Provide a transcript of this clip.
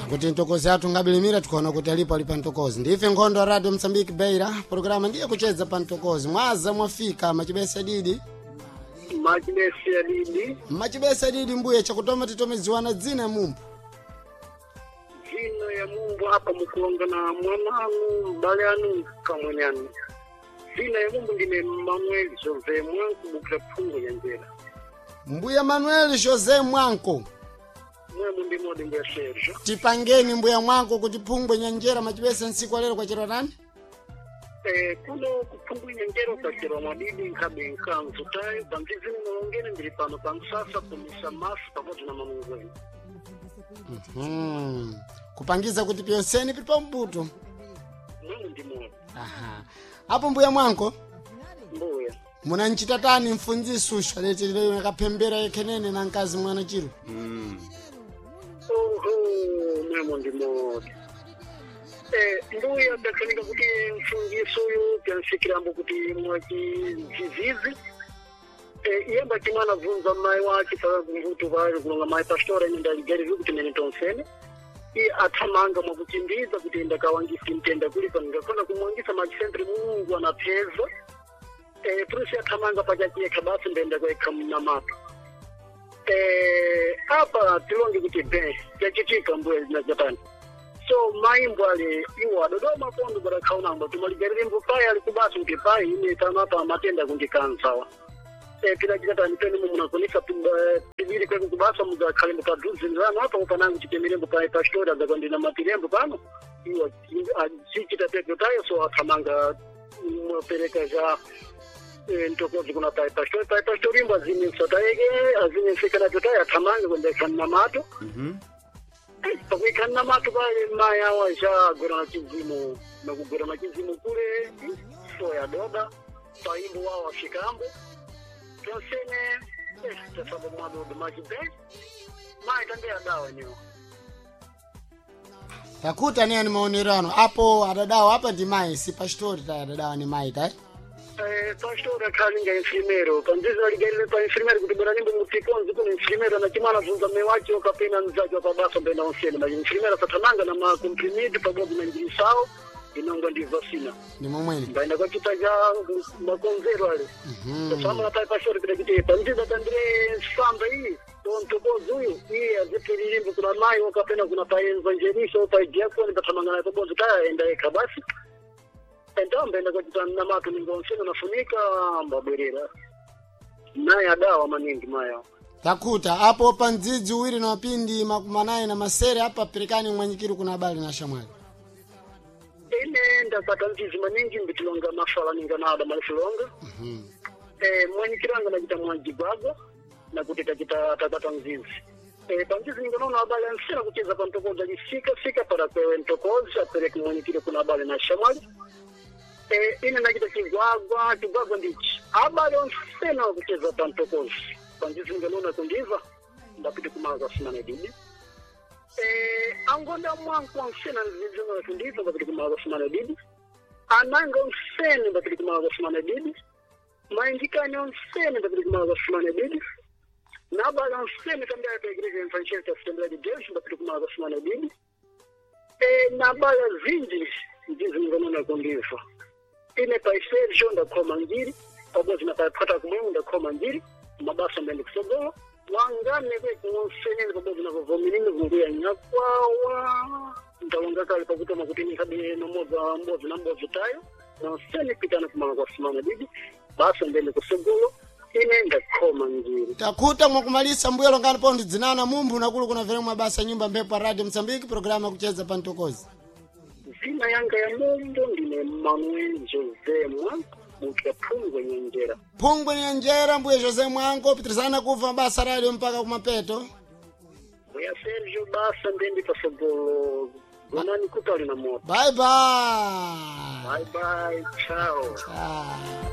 Kuti ntokozi athu ngabilimira tikuona kuti alipo ali pa ntokozi. Ndife nkhondo ya Radio Msambiki Beira, programa ndiye kucheza pa ntokozi. Mwaza mwafika machibesa didi. Machibesa didi. Machibesa didi mbuye chakutoma titomeziwana dzina mumbu. Dzina ya mumbu apa mukulonga na mwana anu, mbale anu, kamwene anu. Dzina ya mumbu ndine Manuel Jose Mwanko bukira phungu nyanjera. Mbuya Manuel Jose Mwanko. Mwemu ndi modi mbuya Sergio. Tipangeni mbuya Mwanko kuti phungwe nyanjera machibesa nsiku alero kwachera nani? Kuno kuphungu nyanjera kwachera mwadidi nkhabe nkanzu tayo pamzizimu mulongeni ndili pano pamsasa kumisa masu pamodzi na mamungweni. Kupangiza kuti pyonseni pili pambuto. Mwemu ndi modi. Aha. Apo mbuya Mwanko? Mbuya. Munanchita tani mfunzisi usho aletileyo akaphembera yekhenene na mkazi mwana chiro. Oho, mwemo ndi modi. Mbuya ndakhanika kuti mfungiso uyu pyansikirambo kuti mwachizizizi. Iyemba chimwana bvunza mai wache paka kumvuto pale kulonga mai pastora ine ndaligariri kuti nene tonsene. Iye athamanga mwakuchimbiza kuti ndakawangisa mtenda kuli pano ngakona kumwangisa machisentri Mulungu anapeza. Prusi athamanga pachachiyekha basi ndenda kwekha mnamato. Apa tilonge kuti ben chachitika mbuya linajatani so maimbo ale iwo adodoma kondo badakhaunamba tumalijarirembo pai ali kubasa kuti pai ine tanapa matenda kundikanzawa pilachitatani pene mumunakonisa pibiri kweku kubasa mudakhalembo padhuze nzano apa upanangu chitemirembo pai pastori adzakandina matirembo pano iwo achichita pepo tayo so athamanga mwapereka za ntokozi kuna pai pastori pai pastori imbo aziminsa taeke aziminsikana taye athamange kwendekhanna mato. Pakuikhanna mato pale mai awa achagwera na chizimu nakugwera na chizimu kule soya doda paimbo wawo afikambo tonsene tasamba mwadodo machibe mai tambe adawa niwo. Takuta niye ni maonerano apo adadawa apa ndi mai si pastori tayi adadawa ni mai tayi. Pastor akhalinga infirmero panzizo aligarire pa infirmero kuti bora nimbo mutikonzi kuno infirmero na chimwana bvunza mme wacho kapena mzaji wapabasa mbenda onsene ma infirmero asathamanga na makomprimido pabodzi na njirisawo inongwa ndi vasina Ndi momwene. mbaenda kwachita cha makonzero ale tasama pai pastor kuti kuti panzizo tandire samba iyi tontokozi uyu iye azipfiririmbo kuna mai okapena kuna pai evangelista o pai diakoni pathamanga naye pabodzi taya enda yekha basi entambe kwachita namato ningonsena nafunika mbabwerera naye adawa maningi maya. Takuta apo pa mdzidzi uwiri na mapindi 80 na masere apa perekani mwanyikiro kuna abale na shamwali. Ine ndapata mdzizi maningi mbitilonga mafala ninga nada malifilonga. Mwanyikiranga nachita mwajigwagwa nakuti tachita tapata mzizi. Pamzizi ninganoona abale ansena kucheza pa ntokozi achisika sika para kwewe ntokozi apereke mwanyikiro kuna abale na shamwali. Ine nachita chigwagwa chigwagwa ndichi abale onsena wakucheza pa ntokozi panzizi nganona kundiva ndapita kumaza simana didi. Angonda mwangu onsena nzizina kundiva ndapita kumaza simana didi. Ananga onsene ndapita kumaza simana didi. Maindikani onsene ndapita kumaza simana didi. Nabala onsene também pa igreja evangélica Assembleia de Deus ndapita kumaza simana didi. Nabala zinji ndizinganona kundiva. Ine pai Sergio ndakhoma ngiri pabodzi na pai kumwemu ndakhoma ngiri mabasa mbende kusogolo wangane kwekunsenene pabodzi na vovominini vunguya nyakwawa ndalonga kale pakutoma kuti nikhabe nomodza mbodzi na mbodzi tayo nonsene pitana kumala kwa simana didi basa mbende kusogolo ine ndakhoma ngiri. Takuta mwakumalisa mbuya longani pondi dzinana mumbu nakulu kuna vere mabasa nyumba mphepo ya Radio Msambiki programa kucheza pa ntokozi. Zina yanga ya mumbu ndine Manuel Jose Mwanko bukira phungwe nyenjera. Phungwe nyenjera mbuya Jose Mwanko pitirizana kuva mabasa radio mpaka kumapeto. Mbuya Sergio basa ndendi pasogolo gonani kutali na moto. Bye bye. Bye bye, ciao. Ah.